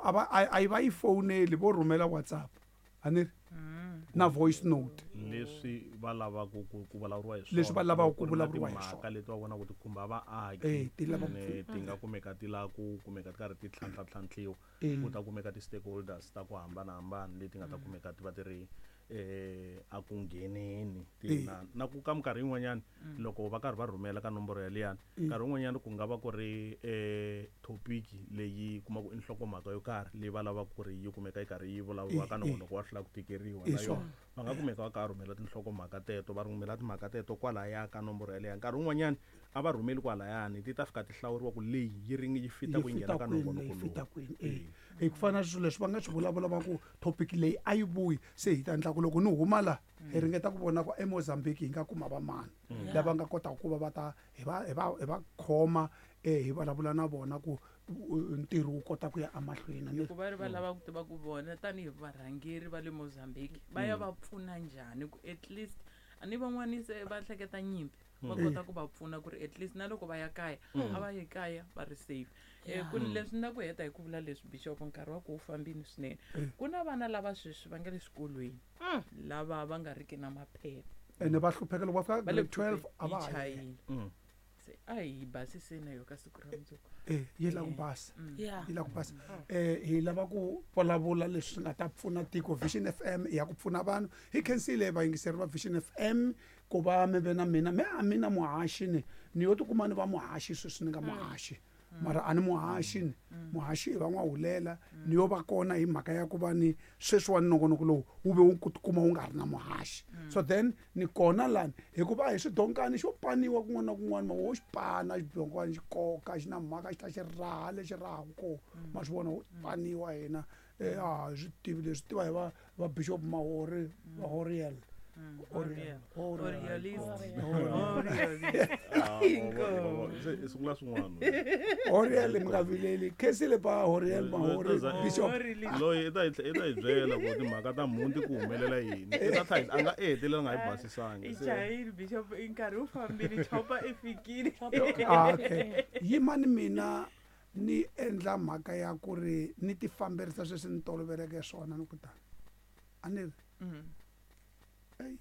A va a yi va yi fowuneli, vo rhumela WhatsApp, a ni ri na voice note. Leswi va lavaka ku vulavuriwa hi swona. Leswi va lavaka ku Loko ku ri na vulavuriwa hi timhaka swona. leti va vonaka ti khumba vaaki, Ti lava ku ene ti nga kumeka ti lava ku kumeka ti karhi ti tlhantlha-tlhantlhiwa. Ku ta kumeka ti-stakeholders ta ku hambanahambana leti nga ta kumeka ti va ti ri a ku ngheneni ti na ku ka minkarhi yin'wanyana loko va karhi va rhumela ka nomboro yaliyani, nkarhi wun'wanyana ku nga va ku ri topic leyi kumaka i nhlokomhaka yo karhi leyi va lavaka ku ri yi kumeka yi karhi yi vulavuriwa ka nongonoko wa hlula ku tikeriwa na yona. Va nga kumeka va karhi rhumela tinhlokomhaka teto, va rhumela timhaka teto kwalaya ka nomboro yaleyo. Nkarhi wun'wanyana a va rhumeli kwalayani, ti ta fika ti hlawuriwa ku leyi yi ringi yi fita ku yi nghena ka nongonoko yi fita lowu. kwini. Hi ku fana na swilo leswi va nga swi vulavula va ku topic leyi a yi vuyi, se hi ta endla ku loko ni huma la hi ringeta ku vona ku eMozambique hi nga kuma va mani lava nga kotaka ku va va ta hi va hi va hi va khoma, hi vulavula na vona ku ntirho wu kota ku ya emahlweni. Ni ku va ri va lava ku tiva ku vona tanihi varhangeri va le Mozambique va ya va pfuna njhani ku at least a ni van'wani se va hleketa nyimpi, va kota ku va pfuna ku ri at least na loko va ya kaya a va yi kaya va ri safe. Ku leswi na ku heta hi ku vula leswi, Bishop, nkarhi wa ku wu fambile swinene. Ku na vana lava sweswi va nga le swikolweni lava va nga riki na maphepha. Ene va hlupheka loko va fika Va le grade 12 a va yi ha yi. chayile. Se a hi basiseni na yo ka siku ra mundzuku. Yi lava ku basa. Yi lava ku basa. Hi lava ku vulavula leswi nga ta pfuna tiko. Vision FM ya ku pfuna vanhu. Hi khensile vayingiseri va Vision FM ku va mi ve na mina. Me a mina muhaxi ni, ni yo tikuma ni va muhaxi sweswi ni nga muhaxi. Mara a ni muhaxi ni. Muhaxi i va n'wahulela. Ni yo va kona hi mhaka ya ku va ni sweswiwani nongonoko lowu wu ve wu ku tikuma wu nga ri na muhaxi. So then ni kona lani hikuva a hi swidonkani xo paniwa kun'wana na kun'wana, ma wo xi pana xidonkani xi koka xi na mhaka xi ta xi raha lexi rahaka kona. Ma swi vona wu paniwa hina. A hi swi tivi leswi tiva hi va Bishop Mahori, va Horiel. Oriel. Orielist. Oriel. Orielist. Se i sungula swin'wana. Oriel mi nga vileli. Khensile pa Oriel Mahori, Bishop. Orielist. Loyi i ta hi byela ku timhaka ta mhunti ku humelela yini. I ta tlhela a nga hetelela nga hi basisangi. I Se chayile Bishop, i nkarhi wu fambile, chopa i fikile. Okay. Yimani mina ni endla mhaka ya ku ri ni ti famberisa sweswi ni toloveleke swona ni ku tani. A ni ri? Ey.